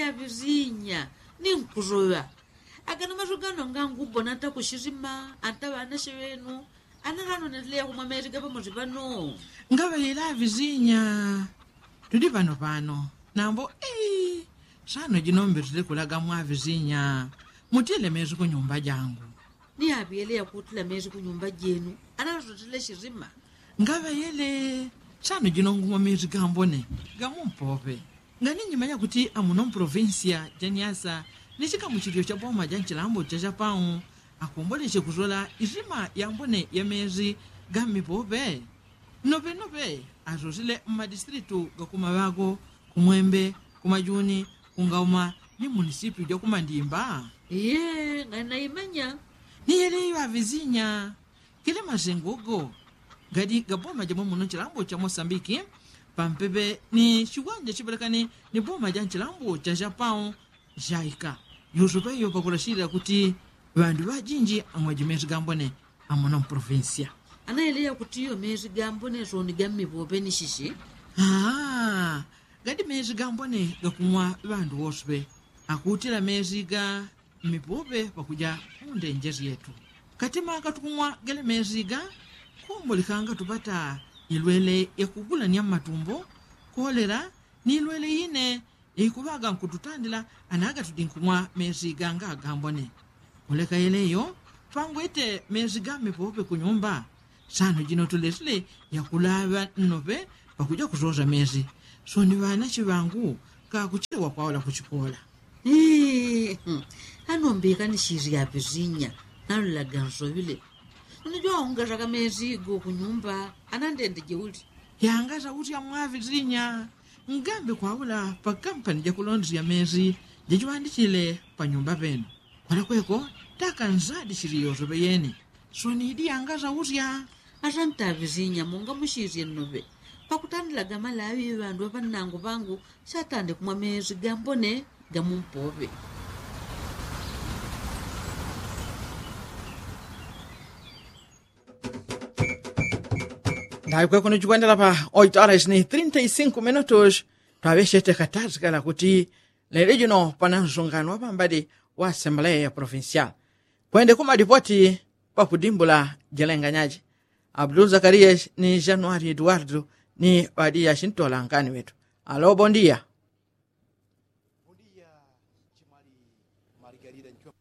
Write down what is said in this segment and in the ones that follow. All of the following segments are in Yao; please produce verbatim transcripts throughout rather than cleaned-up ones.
Aŵizinya, ni nkusoŵa. Agano maso gano ngangubona ntakushizima anta ŵanashe ŵenu. Ana ŵano neleya kumwa mezi gaŵamosi ŵano. Ngaŵayela aŵizinya, tudi ŵano ŵano. Nambo ii, sano jino mbetile kulaga mwaŵizinya, mutile mezi kunyumba jangu. Ni aŵiyele yakutila mezi kunyumba jenu, ana ŵasotile shizima. Ngaŵayele, sano jino ngumwa mezi gambone gamumpoŵe. Ngani nyimanya kuti amuno mprovinsiya ja niasa ni chikamuchililo cha boma ja nchilambo cha chapau akomboleche kusola izima yambone ya mezi ga mmipoŵe. Noŵe noŵe asosile mmadistritu gakumaŵako, kumwembe, kumajuni, kungauma, ni mmunisipyu ja kumandimba. Iye ngani naimanya. Ni yeleyo aŵizinya. Kile masengo go gadi ga boma ja mwamuno nchilambo cha mosambiki, pampepe ni chiwanja chipelekane ni boma ja nchilambo cha chapau, jaika yusupeyo pakulashilila kuti ŵandu ŵajinji amwaji mezi gambone amuno mprovinsiya. Ana yeleya kuti iyo mezi gambone soni ga mmipoŵe ni shishi? Aa, gadi mezi gambone gakumwa ŵandu wosuŵe. Akutila mezi ga mmipoŵe pakuja mundenje syetu. Katima katukumwa gele mezi ga, kumbulikanga tupata ilwele yakugulanya mmatumbo, kolela, ni ilwele ine ikuŵaga nkututandila. Ana gatudi nkumwa mezi ganga gambone. Kuleka yeleyo, pangwete mezi ga mmipoŵe kunyumba, sano jino tulesile yakulaŵa nnoŵe pakuja kusosa mezi. Soni ŵanache ŵangu kakuchelewa kwaula kuchikola. Ii, anombika ni shiri aŵizinya, nalulaga nsoŵile. Unijwa aungasaka mezi go kunyumba, anandendeje uli? Yangasa usya mwaŵizinya. Ngambe kwaula pakampani jakulondesya mezi jajiŵandichile panyumba penu. Kwalakweko taka nzadi shiri yosoŵe yene. Soni idi yangasa usya. Asanta aŵizinya munga mushisye nnoŵe. Pakutandilaga malaŵi ŵandu ŵaŵanangu ŵangu satande kumwa mezi gambone gamumpoŵe. Ndaŵi kweko nuchikwendela pa oito horas ni trinta y cinco minutos. Twaŵeshete katazi kala kuti lelo jino pana nsungano wa pambadi wa asembleya provincial. Kwende kumalipoti pakudimbula jelenganyaji, abdul zakarias ni januari eduardo ni ŵadi yashintola nkani wetu. Alo bondia. Bondia. Chimwali. Margarida nchwa.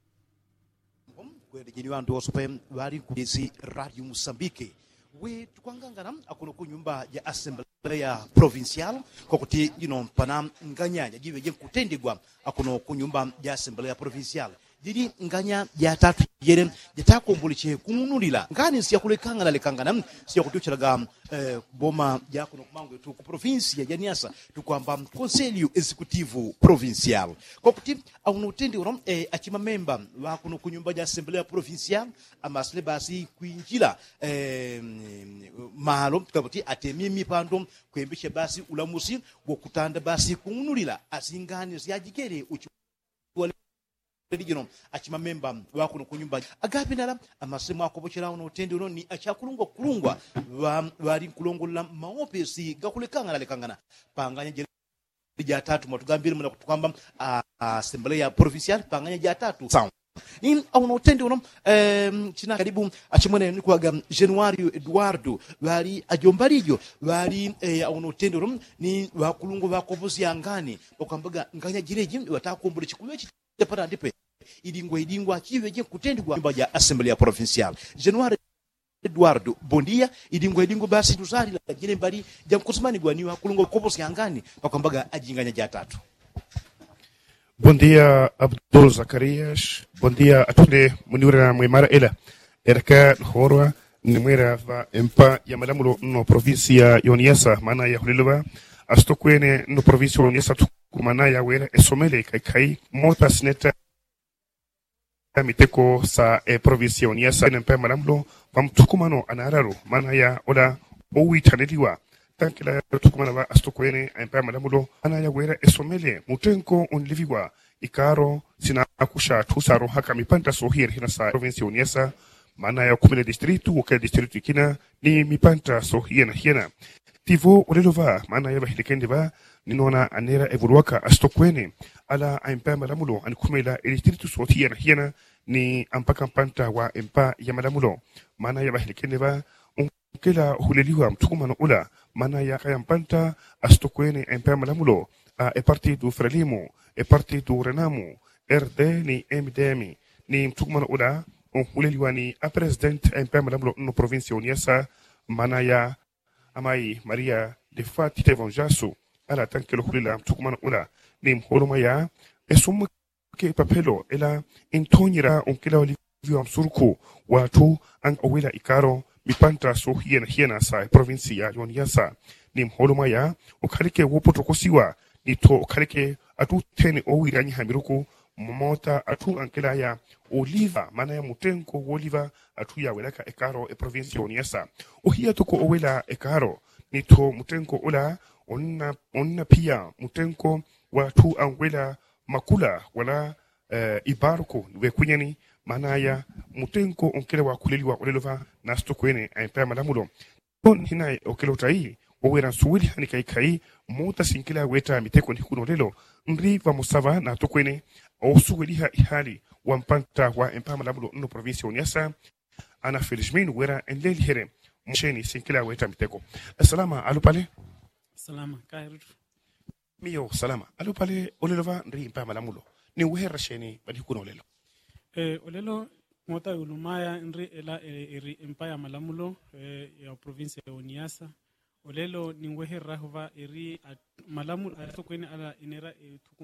Kwele jeni ŵandu wosope ŵali nkulisi radio musambike. We tukwangangana akuno ku nyumba ja asembleya provincial, kwakuti jino mpana nganya jajiŵe jenkutendegwa akuno ku nyumba ja asembleya provincial. Jili nganya jatatu jele jatakomboleche kung'unulila ngani syakulekangana lekangana syakutuchelaga kuboma jakuno kumangwetu ku provinsi ya janiasa, tukwamba konselio exekutivu provincial. Kwakuti auno utende uno achimamemba ŵakuno ku nyumba ja asembleya provincial amasile basi kwinjila malo kakuti atemie mipando kwembesha basi ulamusi wokutanda basi kung'unulila asingani syajigele uchi. Jino achimamemba ŵakuno ku nyumba agapindala amasile mwakopochela uno utende uno ni achakulungwa kulungwa ŵali nkulongolola mmaopesi gakulekangana lekangana panganya jele jatatu mwatugambile muna kutukwamba asembleya provincial panganya jatatu. Ni auno utende uno china kalibu achimwene nikuwaga januario eduardo ŵali ajomba lijo ŵali auno utende uno ni ŵakulungwa ŵakoposya ngani pakwambaga nganya jileji ŵatakombole chikuŵechi. Japanandipe idingwa idingwa chiŵeje kutendegwa nyumba ja asembleya provincial januari. Eduardo bondia idingwa idingwa basi tusalila jile mbali jankusimanigwa ni ŵakulungwa koposya ngani pakwambaga ajinganya jatatu. Bondia abdul zakarias. Bondia atunde muniwira mwemara ela. Ereka nhorwa nimwera ŵa empa ya malamulo nno provinsi ya yoniasa mana ya huliluŵa asitokwene nno provinsi ya yoniasa tukumana ya wera esomele kaikai mota sineta miteko sa eprovinsi ya yoniasa ene mpa ya malamulo ŵa mtukumano anararu mana ya ola owitaniliwa. Tankila tukumana ŵa asitokwene empa ya malamulo mana ya wera esomele mutenko uniliŵiwa ikaro sinakusha tusarohaka mipanta sohiyene hina sa eprovinsi ya yoniasa mana ya ukumile distritu wokela distritu ikina ni mipanta sohiyene hiyene. Tivo ulelo ŵa mana ya ŵahilikende ŵa Ninona anera evuluwaka asitokwene ala aempa ya malamulo anikhumela elistritu soti hiyana hiyana ni ampaka mpanta wa empa ya malamulo. Mana ya ŵahelekene ŵa unkela uhuleliwa mthukumano ula mana ya kaya mpanta asitokwene aempa ya malamulo a epartitu frelimu, epartitu renamu, rd ni mdm. Ni mthukumano ula unhuleliwa ni apresidenti aempa ya malamulo nno provinsi ya uniasa mana ya amai maria de fati tevonjasu ala atankelo hulela mthukumano ula. Ni mholomwa ya esumweke ipapelo ela inthonyera unkela waliviwa msuruku wathu anga owela ikaro mipanta so hiyana hiyana sa provinsi ya uniasa. Ni mholomwa ya ukhaleke wopotokosiwa nitho ukhaleke atuthene owiranyiha miruku mmota athu ankela ya oliva mana ya mutenko woliva athu yawelaka ekaro eprovinsi ya uniasa. Ohiya toko owela ekaro nitho mutenko ula onna piya mutenko wathu angwela makula wala ibaruku wekunyani. Mana ya mutenko unkela wakhuleliwa olelo ŵa nasitokwene aempa ya malamulo. Nina okela utai wowela nsuweliha ni kaikai mota sinkela weta miteko ni hikuno lelo. Nri ŵamosaŵa natokwene osuweliha ihali wa mpanta wa empa malamulo nno provinsi ya uniasa ana felismin wela enlelihere. Msheni sinkela weta miteko. Salama alupale. Salama kaerutu. Miyo salama alupale olelo ŵa nri empa malamulo ni weherera sheni ŵa ni hikuno lelo. Olelo mota yulumaya nri ela eri empa ya malamulo ya provinsi ya uniasa. Olelo ni wehereraho ŵa eri malamulo atokwene ala inera.